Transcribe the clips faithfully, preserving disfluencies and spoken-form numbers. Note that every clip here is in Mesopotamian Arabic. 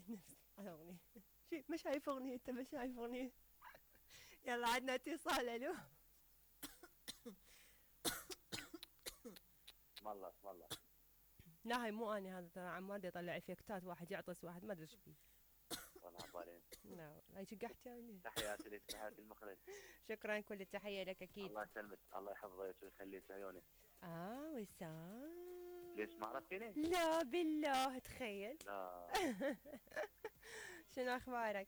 نفسي على اغنية. شي ما شايف اغنية، انت ما شايف اغنية. يلا عندنا اتصال. الو. اسم الله اسم الله. لا هاي مو اني، هذا ترى عماد يطلع افكتات، واحد يعطس واحد ما ادري ايش فيه. والله عبالين. لا هاي شقحت يعني. تحياتي لك تحياتي المخرج. شكرا، كل التحية لك اكيد. الله يسلمك الله يحفظك ويخليك عيوني. اه وسام. ليش ما عرفتيني؟ لا بالله تخيل. لا. شنو اخبارك؟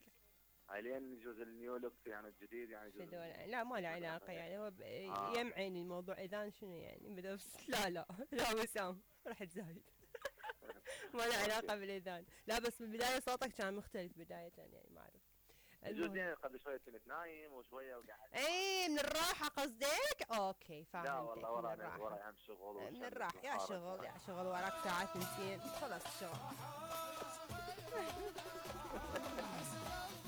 حاليا جزء النيو لوك يعني الجديد يعني جزء. لا ما له علاقة يعني، هو آه. يمعن الموضوع اذان شنو يعني بدأ. لا لا لا وسام رحت زايد. ما له علاقة بالاذان، لا بس بالبداية صوتك كان مختلف بداية يعني ما اعرف. جزئين قبل شوية كنت نايم وشوية وقاعد. اي من الراحة قصدك؟ اوكي فهمتك. لا والله وراي وراي اهم شغل. من الراحة يا شغل يا شغل وراك ساعات تنسين خلاص الشغل.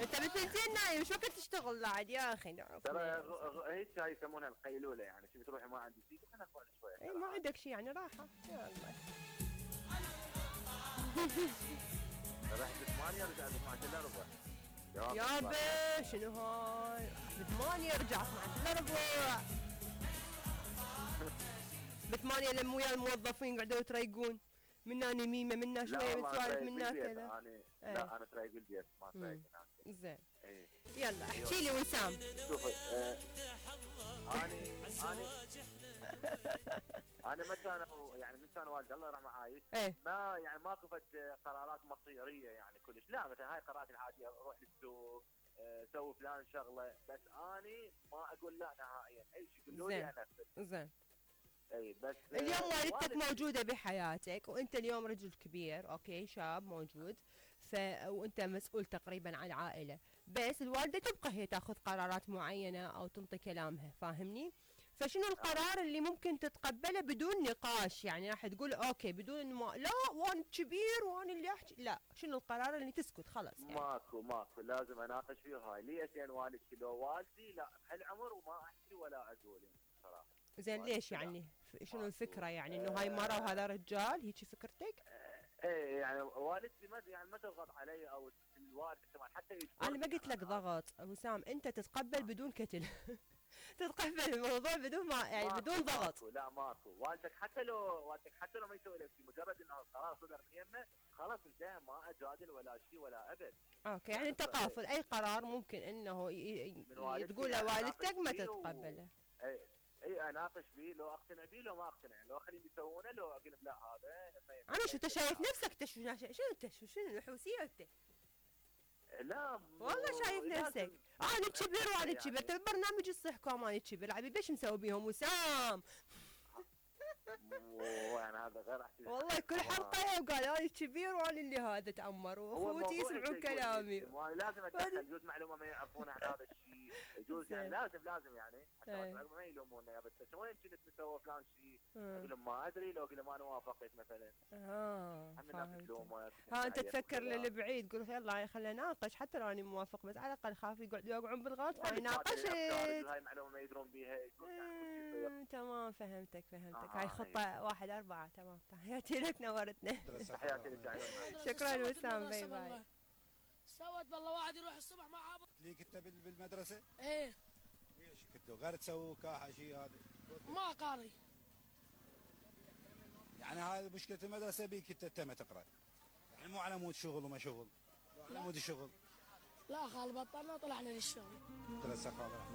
انت بالثنتين نايم شو وقت تشتغل بعد يا اخي؟ ترى هيك هاي يسمونها القيلولة يعني، شو بتروحي ما عندي شيء خلينا نقعد شوية. اي ما عندك شيء يعني راحة. يا الله. رحت بثمانية رجعت اثناشر الا ربع. يابا شنو هاي؟ بثمانية رجعت اثناشر الا ربع. بثمانية لما ويا الموظفين قعدوا يتريقون، منا نميمة منا شوية متسوالف منا كذا. لا انا ترايق بالبيت ما ترايق هناك. زين. ايه. يلا احكي لي وسام. شوفي آه اني اني انا ما كانوا يعني من كان والدي الله يرحمه عايش. ايه. ما يعني ما كفت قرارات مصيريه يعني كلش، لا مثلا هاي قرارات العاديه روح للسوق آه سوي فلان شغله، بس اني ما اقول لا نهائيا، اي شيء يقولوا لي انفذ. زين. اي بس اليوم والدتك موجودة بحياتك وانت اليوم رجل كبير، اوكي شاب موجود، ف وانت مسؤول تقريبا عن العائلة، بس الوالدة تبقى هي تاخذ قرارات معينة او تنطي كلامها، فاهمني؟ فشنو القرار اللي ممكن تتقبله بدون نقاش؟ يعني راح تقول اوكي بدون ما لا وانا كبير وانا اللي احكي، لا شنو القرار اللي تسكت خلاص يعني؟ ماكو ماكو لازم اناقش فيه هاي، ليش يعني والدتي لو والدي لا بهالعمر وما احكي ولا اقول يعني صراحة. زين ليش يعني؟ شنو الفكرة يعني انه هاي مرة وهذا رجال، هيك فكرتك؟ ايه يعني والدتي ما يعني ما تضغط علي او الوالد كمان حتى انا ما قلت لك ضغط وسام، انت تتقبل بدون كتل. تتقبل الموضوع بدون ما يعني بدون ضغط. ماكو لا ماكو، والدك حتى لو والدك حتى لو ما يسوي لك شيء مجرد انه القرار صدر من يمه خلاص انتهى، ما اجادل ولا شيء ولا ابد. اوكي يعني انت قافل اي قرار ممكن انه تقول لوالدتك ما تتقبله. و... اي اي اناقش فيه لو اقتنع فيه لو ما اقتنع، لو اخليهم يسوونه لو اقول لا هذا انا شو انت شايف نفسك انت شو شنو انت شو شنو الحوسيه انت؟ لا والله شايف نفسك انا كبر وانا كبر، انت البرنامج الصح كمان كبر عبيد ليش مسوي بيهم وسام؟ يعني هذا غير احكي والله كل حلقه وقال انا كبير وانا اللي هذا تعمر واخوتي يسمعون كلامي. لازم اتدخل يجوز معلومه ما يعرفون عن هذا الشيء، يجوز يعني لازم لازم يعني حتى ما يلومونا يا بس وين كنت مسوي فلان شيء، اقول لهم ما ادري لو اقول لهم انا وافقت مثلا. اه فهمت. ها انت تفكر للبعيد تقول يلا خلينا نناقش حتى لو اني موافق، بس على الاقل خاف يقعد يوقعون بالغلط فيناقشت. هاي معلومه ما يدرون بيها. تمام فهمتك فهمتك. هاي خطه واحد أربعة. تمام تحياتي لك نورتنا. تحياتي لك. شكرا وسام باي باي. سوت بالله واحد يروح الصبح مع ابو ليك انت بالمدرسه؟ ايه. ايش كنتوا غير تسووا كاحه شيء هذا؟ ما قاري. يعني هذه مشكله المدرسه بيك انت ما تقرا. يعني مو على مود شغل وما شغل. على مود الشغل. لا خال بطلنا طلعنا للشغل. ثلاث سقاطات.